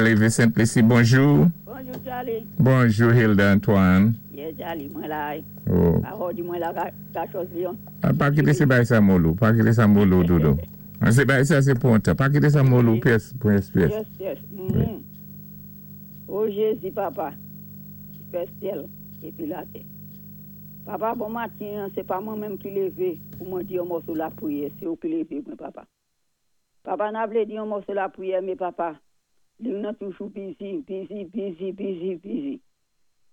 lévé Sent Lisi, bonjou. Bonjou, Charlie. Bonjou, Hilda Antoine. Yes, Charlie, mwen la. Oh. Pa di mwen la ka chòz Lyon. Ah, pa kité sé bay sa molou, pa kité sa molou, doudou. Ah, sé bay sa sé pou an tan. Pa kité sa molou pyès, pyès, pyès. Yes. Oh Jézi, papa, ki fè syèl épi latè. Papa, bon matin, sé pa mwen menm ki lévé pou mwen di yon mòso lapriyè, sé ou ki lévé mwen, papa. Papa, na vlé di yon mòso lapriyè, mé papa, liy nan toujou busy, busy, busy, busy, busy.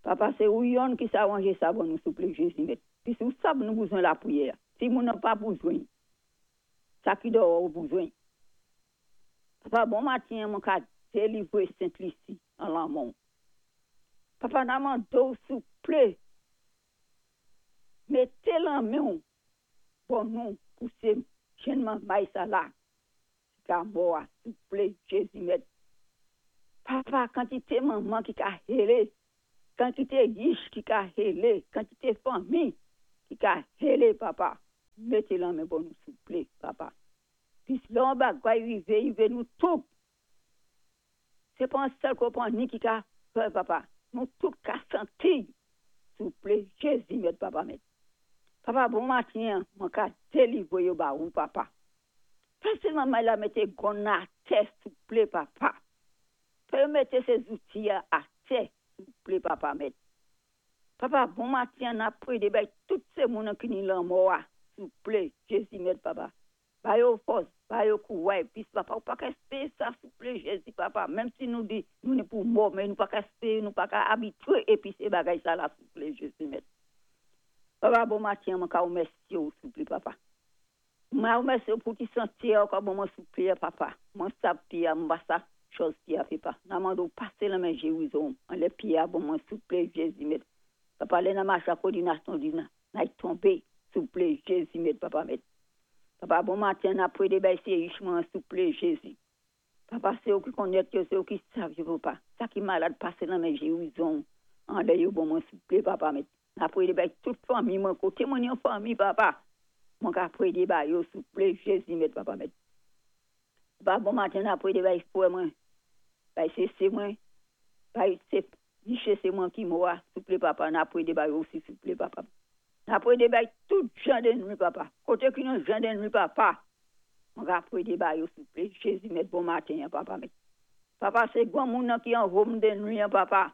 Papa, sé ou yonn ki sa wanjé sa ban nou, souplé, Jézi mèt. Pi ou sab nou bezwen lapriyè. Si moun nan pa bezwen, sa ki dèwò ou bezwen. Papa, bon matin, mwen ka délivré Sent Lisi an lanmen. Papa, na mandé souplé, mété lanmen bon nou pou sé jenn manmay sa la. Ka mò, souplé, Jézi mèt. Papa, kantité manman ki ka hélé, kantité yich ki ka hélé, kantité fanmi ki ka hélé, papa. Mété lanmen bon nou, souplé, papa. Pis lè yon bagay rivé, rivé nou tout. Sé pa yon sèl konpanni ki ka fè, papa. Nou tout ka santi. Souplé, Jézi mèt, papa mèt. Papa, bon matin, mwen ka délivré yo ba ou, papa. Fè sé manman la mété gun atè, souplé, papa. Fè yo mété sé zouti atè, souplé, papa mèt. Papa, bon matin, n ap pwédé bay tout sé moun ki ni lanmò, souplé, Jézi mèt, papa. Ba yo fòs, ba yo kouway, pis papa, ou pa ka espéwé sa, souplé, Jézi, papa. Menm si nou di, nou ni pou mò, mé nou pa ka espéwé, nou pa ka abitwé, épi sé bagay sa la, souplé, Jézi mèt. Papa, bon matin, mwen ka wémèsyé ou, souplé, papa. Mwen wémèsyé ou pou ti santé ankò bon mwen souplé, papa. Mwen sab pyé, mwen pa sa chòz pyé a papa. Na mandé ou pasé lanmen gérizon, anlè pyé bon mwen souplé, Jézi mèt. Papa, lè na maché ak kòdinasyon di na, na tonbé, souplé, Jézi mèt, papa mèt. Papa, bon matin, n ap pwédé bay sé yich mwen, souplé, Jézi. Papa, sé ou ki konnèt yo, sé ou ki sav yo, papa. Sa ki malad pasé lanmen gérizon, anlè yo bon mwen souplé, papa mèt. N ap pwédé bay tout fanmi mwen koté mwen yon fanmi, papa. Mwen ka pwédé bay yo, souplé, Jézi mèt, papa mèt. Papa, bon matin, n ap pwédé bay fwè mwen, bay sé sé mwen, bay sé Miché sé mwen ki mò, souplé, papa, n ap pwédé bay yo osi, souplé, papa. N ap pwédé bay tout jan dénmi, papa. Koté ki yon jan dénmi, papa. Mwen ka pwédé bay yo, souplé, Jézi mèt, bon matin, papa mèt. Papa, sé gwan moun nan ki an home dénmi, papa.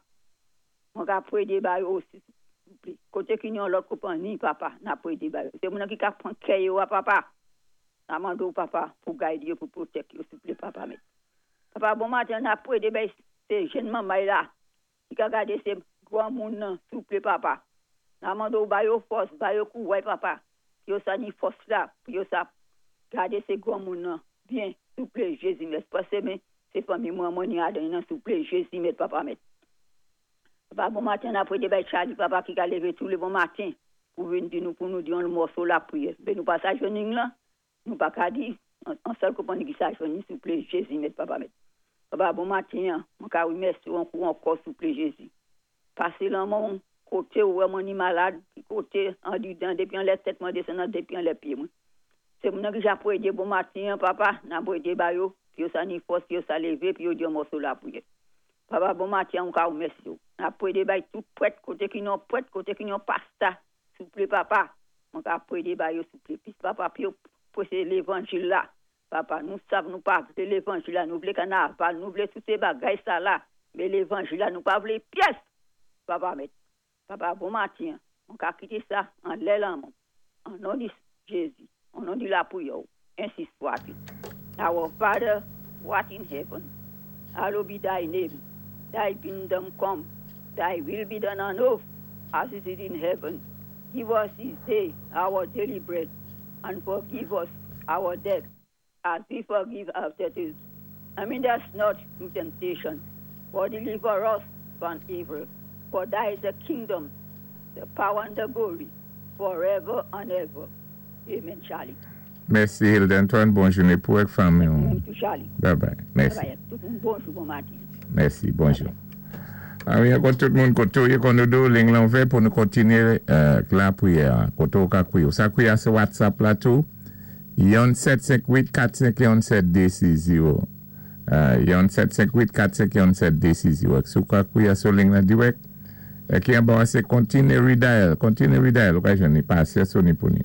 Mwen ka pwédé bay yo osi, souplé. Koté ki yon lòt konpanni, papa, n ap pwédé bay yo. Sé moun nan ki ka pwan kè yo, papa. Na mandé ou, papa, pou gide yo, pou protect yo, souplé, papa mèt. Papa, bon matin, n ap pwédé bay sé jenn manmay la, ki ka gadé sé gwan moun nan, souplé, papa. Na mandé ou ba yo fòs, ba yo kouway, papa. Pou yo sa ni fòs la, pou yo sa gadé sé gwan moun nan. Byen, souplé, Jézi mèt. Pasé men, sé fanmi mwen mwen ni adan nan, souplé, Jézi mèt, papa mèt. Papa, bon matin, n ap pwédé bay Charlie, papa, ki ka lévé tou lé bon matin, pou vin di nou, pou nou di yon mòso lapriyè. Mé nou pa sa jwenn la, nou pa ka di, an sèl konpanni ki sa jwenn, souplé, Jézi mèt, papa mèt. Papa, bon matin, mwen ka wémèsyé ou ankou ankò, souplé, Jézi. Pasé lanmen koté ou wè mwen ni malad, ki koté andidan, dépi anlè tèt mwen désann nan dépi anlè pyé mwen. Sé moun nan ki ja pwédé bon matin, papa, n ap pwédé ba yo, pou yo sa ni fòs, pou yo sa lévé, pou yo di yon mòso lapriyè. Papa, bon matin, mwen ka wémèsyé ou. N ap pwédé bay tout prèt, koté ki yon prèt, koté ki yon pastè, souplé, papa, mwen ka pwédé ba yo, souplé. Pis papa, pou yo pwéché lévanjil la. Papa, nou sav nou pa vlé lévanjil la, nou vlé kanaval, nou vlé tout sé bagay sa la, mé lévanjil la nou pa vlé pyès. Papa mèt. Papa, bon matin, mwen ka kité sa anlè lanmen. An non di Jézi, an non di lapriyè, ensi swat-il. Our Father, who art in heaven, hallowed be thy name. Thy kingdom come, thy will be done on earth as it is in heaven. Give us this day our daily bread, and forgive us our debt, as we forgive our debtors. And lead us not to temptation, but deliver us from evil. For thy is the kingdom, the power and the glory, forever and ever. Amen, Charlie. Mèsi, Hilda Antoine. Bon jouné pou ak fanmi. Mèsi, Charlie. Bye bye. Mèsi. Bye bye. Tout moun bonjou, bon matin. Mèsi, bonjou. Ah wi, ankò tout moun koté ou konn do liy lan ouvè pou nou kontinyé lapriyè. Koté ou ka kwiyé. Sa kwiyé sé WhatsApp la tou. Yon 758 451 7260. Yon 7 5 8 4 5 yon 7 2 6 diwèk. Si ou ka kwiyé sou ling lan diwèk, ki an ba sé "Continue redial", "Continue redial", ou ka jwenn ni pasé sou ni pou ni.